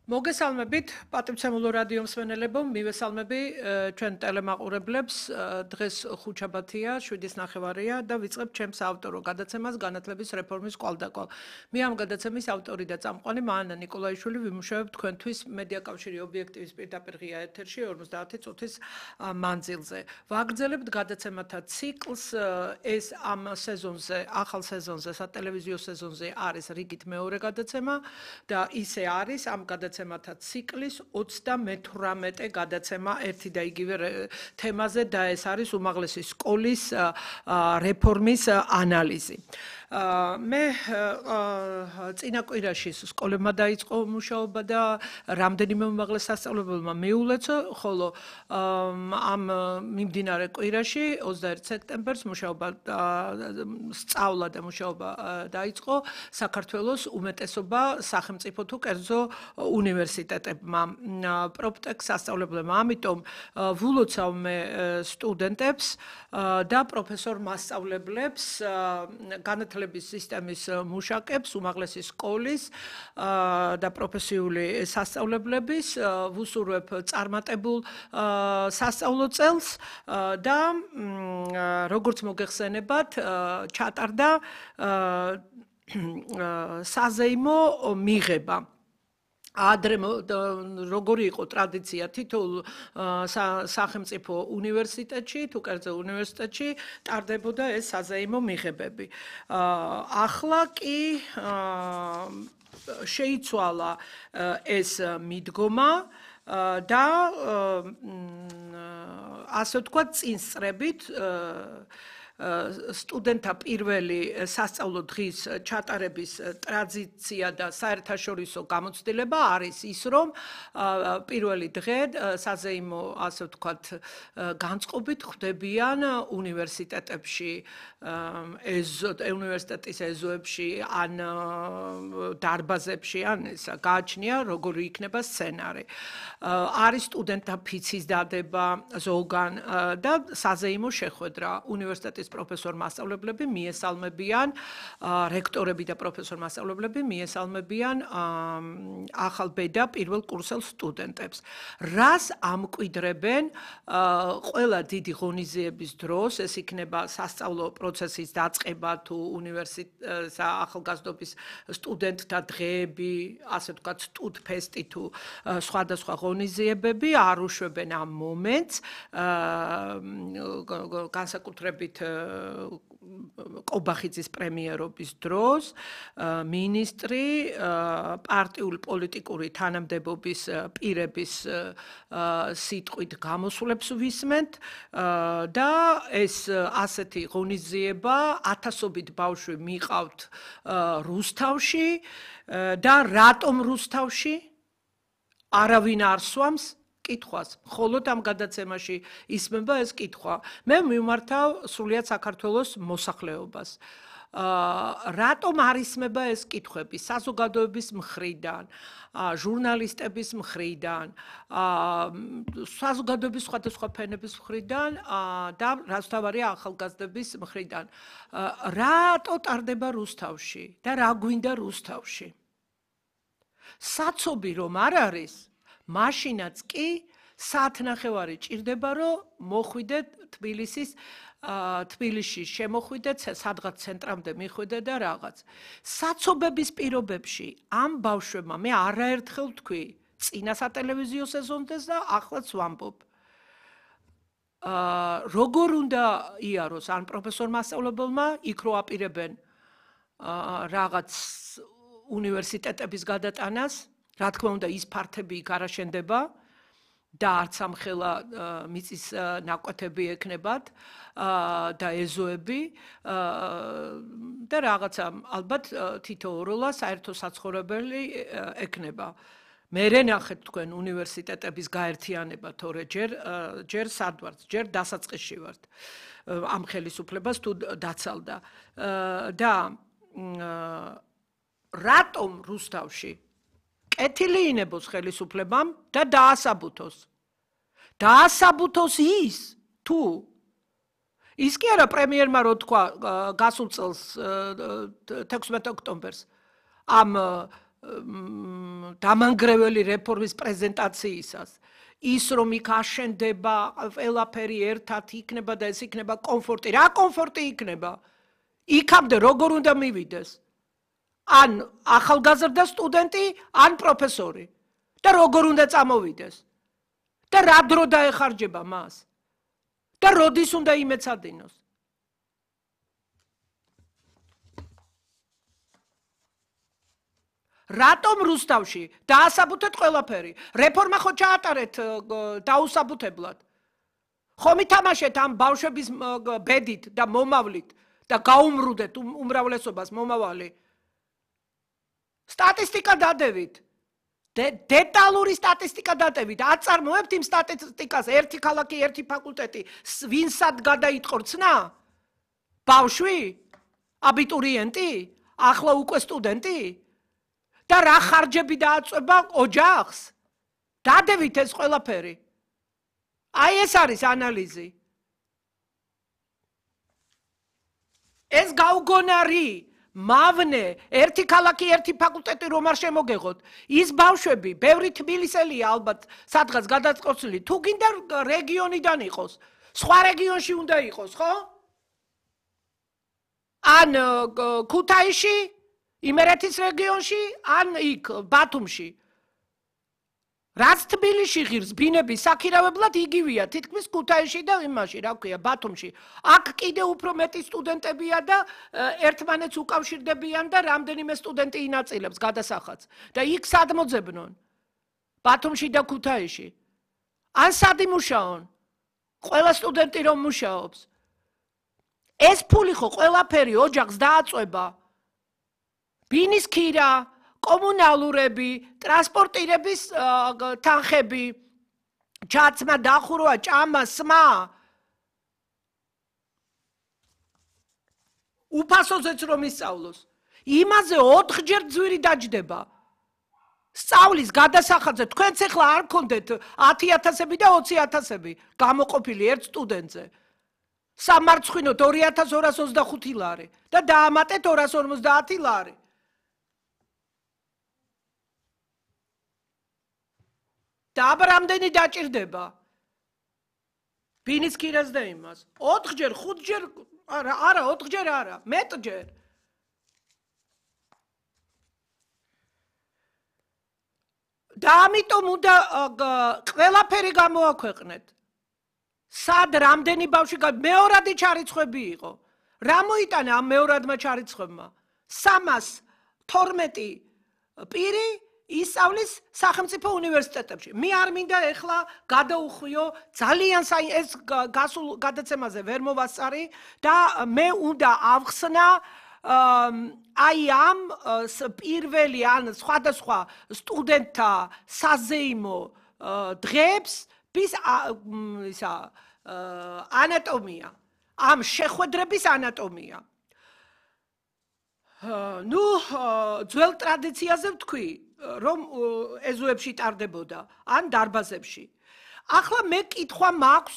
მოგესალმებით პატივცემულო რადიო მსმენელებო, მივესალმები ჩვენ ტელემაყურებლებს. დღეს ხუთშაბათია, 7:09 და ვიწყებ ჩემს ავტორო გადაცემას განათლების რეფორმის კვალდაკვალ. მე ამ გადაცემის ავტორი და წამყვანი მაანა ნიკოლაიშვილი ვიმუშავებ თქვენთვის მედია კავშირი ობიექტივის პირდაპირ ღია ეთერში 50 წუთის მანძილზე. ვაგრძელებთ გადაცემათა ციკლს. ეს ამ სეზონზე, ახალ სეზონზე, სატელევიზიო სეზონზე არის რიგით მეორე გადაცემა და ისე არის ამ გადაცემათა ციკლის 38 გადაცემა ერთი და იგივე თემაზე და ეს არის უმაღლესი სკოლის რეფორმის ანალიზი. მე წინა კვირაში სკოლებმა დაიწყო მუშაობა და რამდენიმე უმაღლეს სასწავლებელმა მიულეცო, ხოლო ამ მიმდინარე კვირაში 21 სექტემბერს მუშაობა სწავლა და მუშაობა დაიწყო საქართველოს უმეტესობა სახელმწიფო თუ კერძო უნივერსიტეტებმა, პროპტექ სასწავლებლებმა. ამიტომ ვულოცავ მე სტუდენტებს და პროფესორ მასწავლებლებს განათლების სისტემის მუშაკებს, უმაღლესი სკოლის და პროფესიული სასწავლებლების ვუსურვებ წარმატებულ სასწავლო წელს და როგორც მოგეხსენებათ, ჩატარდა საზეიმო მიღება. ადრე როგორი იყო ტრადიცია თითოეულ სახელმწიფო უნივერსიტეტში თუ კერძო უნივერსიტეტში ტარდებოდა ეს საზეიმო მიღებები. ახლა კი შეიცვალა ეს მიდგომა და ასე ვთქვათ წინსწრებით სტუდენტთა პირველი სასწავლო დღის ჩატარების ტრადიცია და საერთაშორისო გამოცდილება არის ის, რომ პირველი დღე საზეიმო, ასე ვთქვათ, განწყობით ხვდებიან უნივერსიტეტებში, უნივერსიტეტის ეზოებში, ან დარბაზებში, ან გააჩნია როგორი იქნება სცენარი. არის სტუდენტთა ფიცის დადება ზოგან და საზეიმო შეხვედრა. უნივერსიტეტის პროფესორ მასწავლებლები მიესალმებიან, რექტორები და პროფესორ მასწავლებლები მიესალმებიან ახალ ბედა პირველ კურსელ სტუდენტებს. რას ამკვიდრებენ ყველა დიდი ღონისძიების დროს, ეს იქნება სასწავლო პროცესის დაწყება თუ ახალგაზრდობის სტუდენტთა დღეები, ასე ვთქვათ, სტუდფესტი თუ სხვადასხვა ღონისძიებები არ უშვებენ ამ მომენტს, განსაკუთრებით კობახიძის პრემიერობის დროს მინისტრი პარტიული პოლიტიკური თანამდებობის პირების სიტყვით გამოსვლებს ვისმენთ და ეს ასეთი ღონისძიება ათასობით ბავშვი მიყავთ რუსთავში და რატომ რუსთავში არავინ არ სვამს კითხვას. მხოლოდ ამ გადაცემაში ისმება ეს კითხვა. მე მიმართავ სრულიად საქართველოს მოსახლეობას. რატომ არ ისმება ეს კითხვები საზოგადოების მხრიდან, ჟურნალისტების მხრიდან, საზოგადოების სხვადასხვა ფენების მხრიდან და რაც თავარია ახალგაზრდების მხრიდან. რატო ტარდება რუსთავში და რა გვინდა რუსთავში? საცობი რომ არ არის, მაშინაც კი საათნახევარი ჭირდება, რომ მოხვიდეთ თბილისში შემოხვიდეთ, სადღაც ცენტრამდე მიხვიდეთ და რაღაც. საცობების პირობებში ამ ბავშვებმა მე არაერთხელ ვთქვი, წინა სატელევიზიო სეზონდეს და ახლაც ვამბობ. როგორ უნდა იაროს ან პროფესორ მასწავლებელმა იქ რო აპირებენ რაღაც უნივერსიტეტების გადატანას, რა თქმა უნდა, ის ფართები იქ არ აშენდება და არც ამხელა მიწის ნაკვეთები ექნებათ და ეზოები და რაღაცა ალბათ თითოეულა საერთო საცხოვრებელი ექნება. მე ნახეთ თქვენ უნივერსიტეტების გაერთიანება, თორე ჯერ სად ვართ, ჯერ დასაწყისში ვართ ამ ხელისუფლებას თუ დაცალდა და რატომ რუსთავში კეთილი ინებოს ხელისუფლებამ და დაასაბუთოს. დაასაბუთოს ის, თუ ის კი არა პრემიერმა რო თქვა გასულ წელს 16 ოქტომბერს ამ დამანგრეველი რეფორმის პრეზენტაციისას ის რომ იქ აშენდება ყველაფერი ერთად იქნება და ეს იქნება კომფორტი რა კომფორტი იქნება იქამდე როგორ უნდა მივიდეს ან ახალგაზრდა სტუდენტი ან პროფესორი და როგორ უნდა წამოვიდეს და რა დრო დაეხარჯება მას და როდის უნდა იმეცადინოს რატომ რუსთავში დაასაბუთეთ ყველაფერი რეფორმა ხო ჩაატარეთ დაუსაბუთებლად ხომ ითამაშეთ ამ ბავშვების ბედით და მომავლით და გაუმრუდეთ უმრავლესობას მომავალი სტატისტიკა დადევით დეტალური სტატისტიკა დადევით აწარმოებთ იმ სტატისტიკას ერთი ქალაქი ერთი ფაკულტეტი ვინსად გადაიტყორ ცნა ბავშვი აბიტურიენტი ახლა უკვე სტუდენტი და რა ხარჯები დააწובה ოჯახს დადევით ეს ყველაფერი აი ეს არის ანალიზი ეს გაუგონარი მავნე ერთი ქალაქი ერთი ფაკულტეტი რომ არ შემოგეღოთ ის ბავშვები ბევრი თბილისელია ალბათ სადღაც გადაწყვეტილი თუ გინდა რეგიონიდან იყოს სხვა რეგიონში უნდა იყოს ხო ან ქუთაისში იმერეთის რეგიონში ან იქ ბათუმში რაც თბილისში ღირს ბინების საქირავებლად იგივეა თითქმის ქუთაისში და იმაში რა ქვია ბათუმში აქ კიდე უფრო მეტი სტუდენტებია და ერთმანეთს უკავშირდებიან და რამდენიმე სტუდენტი ინაწილებს გადასახადს და იქ სად მოძებნონ ბათუმში და ქუთაისში ან სად იმუშაონ ყველა სტუდენტი რომ მუშაობს ეს ფული ხო ყველაფერი ოჯახს დააწובה ბინის ქირა კომუნალურები, ტრანსპორტირების თანხები, ჩაცმა, დახურვა, ჭამა, სმა. უფასოზეც რომ ისწავლოს. იმაზე 4 ჯერ ძვირი დაჯდება. სწავლის გადასახადზე თქვენც ახლა არ გქონდეთ 10,000-ები და 20,000-ები გამოყოფილი ერთ სტუდენტზე. სამარცხვინოთ 2,225 ლარი და დაამატეთ 250 ლარი. და აბა რამდენი დაჭირდება ბინის ქირას და იმას 4 ჯერ 5 ჯერ არა 4 ჯერ არა მეტჯერ და ამიტომ უნდა ყველაფერი გამოაქვეყნეთ სად რამდენი ბავშვი მეორადი ჩარიცხვები იყო რა მოიტანა ამ მეორადმა ჩარიცხვებმა 312 პირი ისწავლის სახელმწიფო უნივერსიტეტებში. მე არ მინდა ეხლა გადაუხვიო ძალიან ეს გასულ გადაცემაზე ვერ მოვასწარი და მე უნდა ავხსნა აი ამ პირველი ან სხვადასხვა სტუდენტთა საზეიმო დღეებს ისა ანატომია ამ შეხვედრების ანატომია ნუ ძველ ტრადიციაზე ვთქვი რომ ეზოებში ტარდებოდა ან დარბაზებში. ახლა მე კითხვა მაქვს